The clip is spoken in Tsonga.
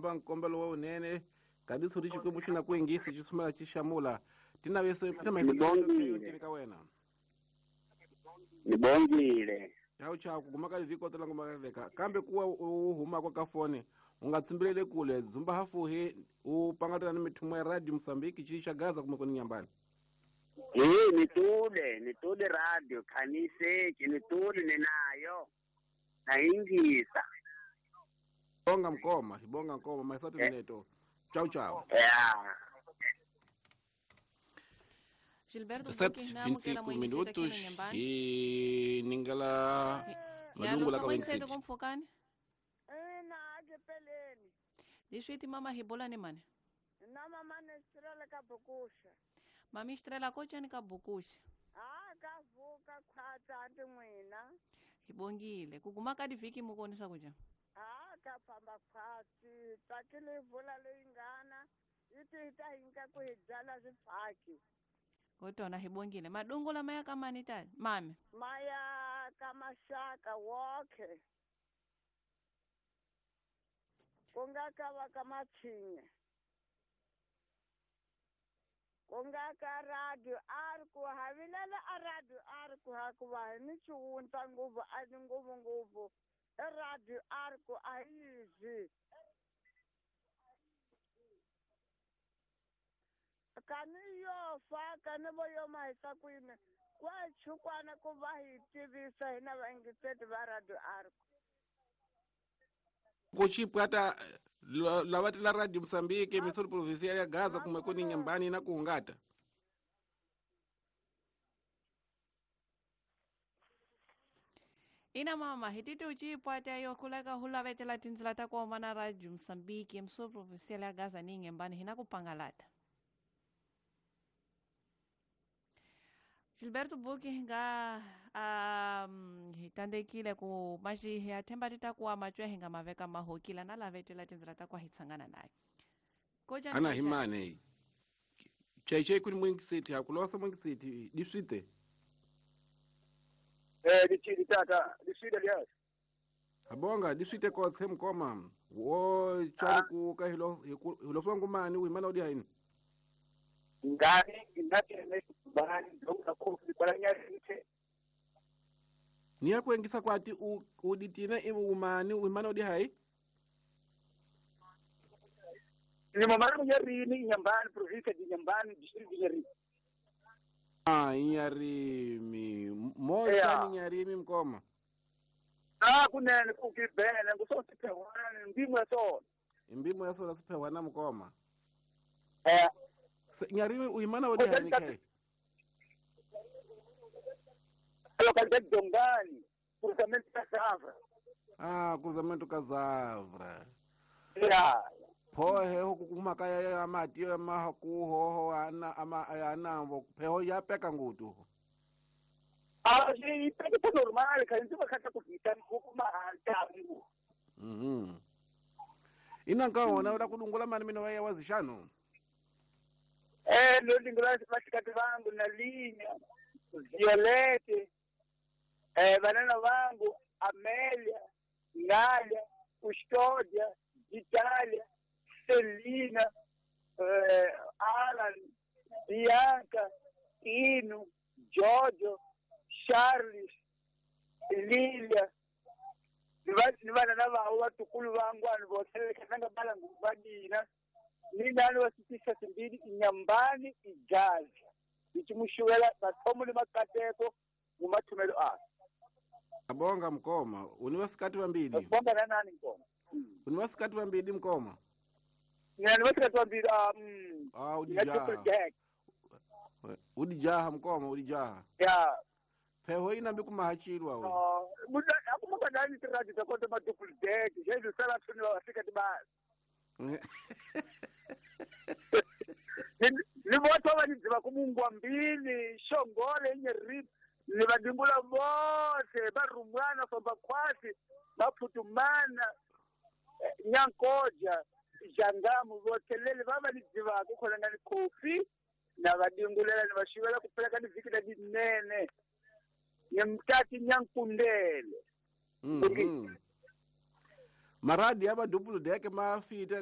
Nkombelo wa unene kadiso ri xikwembu xi na ku yingisi xi sumela xi xamula tinavese timahisa ka wena nibongile chau chau kuguma ka livhiko tela ngoma kambe kuwa u huma ka fone u nga tsimbilele kule dzumba hafuhi u pangatana ni mithumo ya radio Mozambique chili cha Gaza kuma kuni nyambani eh nitule radio khanise nitule ninayo naingisa bonga mkoma bonga mkoma maisatu neto chau chau yeah. Gilberto 7:25 minutos e ningala madungu la ka wengisi kumfokani Diswiti mama hibola ni mane na mama ne estrela ka bukusha mami estrela kocha ni ka bukusha ah ka vuka khwatsa anti n'wina hibongile kuguma ka divhiki mukonisa kuja ah ka famba khwatsi tsakile vula leyi ngana yi ti ta hinka ku hi byala swifaki kotona hibongile madungu lama ya kamani tani mami maya ka mashaka wokhe ku nga ka va ka matshinya ku nga ka radio a ri ku havilela a radio a ri ku ha ku va hi ni xiwundza ngopfu a ni ngopfu ngopfu e radio a ri ku a yi dyi kani yo fa kani vo yo mahisa kwini kwa chukwana ku va hi tivisa hina vaingiseti va radio a ri ku ku chipwata lava tila radio Mozambique misori provincial ya Gaza kumwe kuni nyambani na kuhungata ina mama hititi uchipwata yo kuleka hulavetela tindzila ta kuoma na radio Mozambique misori provincial ya Gaza ni nyambani hina kupangalata Gilberto Buki nga hitandekile ku maji ya themba titakuwa machwe hinga maveka mahokila na lavetela tindzila ta kwa hitsangana naye koja ana himane chaichai kuni mwingiseti hakulosa mwingiseti diswite dichidi tata diswite lias abonga diswite kotse mkoma wo chali ku ka hilo hilo fangu mani uimana odi haini ngani inatene bani ndonga kofi kwala nyarite niya kuengisa kwati uditina umani uimana odi hai ni mamara nyarini nyambani province di nyambani district nyarini ah nyarimi moja ni nyarimi mkoma ah kunene kukibene ngusosiphewana ndimo yasona imbimo yasona siphewana mkoma eh nyarimi uimana odi hai ni kai localidade de Dongani, cruzamento Kazavra. Ah, cruzamento Kazavra. Yeah. Pho heho kumaka ya mati ya mahaku ana ama ana pheho ya peka ngutu. Ah, ji peka normal, ka nzi bakata kuvita kuma tangu. Mhm. Ina nkaona ula kudungula mani mino ya wazishano. Eh, lo lingula basikati vangu na linya. Violete banana vangu Amélia, Nália, Custódia, Itália, Celina, Alan, Bianca, Ino, Giorgio, Charles, Lilia, ni vanana vavo vatukulu vangu vanhu voselekatanga balangu vadina ni nani vasitisa simbili inyambani igaza ichimushuwela mathomo le makateko mumathumelo a abonga mkoma uniwasikati wambili bonga na nani mkoma uniwasikati wambili mkoma ngani wasikati wambili ah udijaha udijaha mkoma udijaha ya pheho ina mbi kumahachilwa we akumuka nani tiradi takonto madouble deck jesu sala thuni wasikati ba ni votho va nidziva kumungwa mbili xongole nyeri ni vadingula vothe va rhumwana famba khwasi va phutumana nyankoja jangamu vothelele va va ni dzivaka khona nga ni kofi na vadingulela ni va xivela ku pfuleka ni vhiki la dinene ni mtati nyankundele maradi ya madouble deck ma fita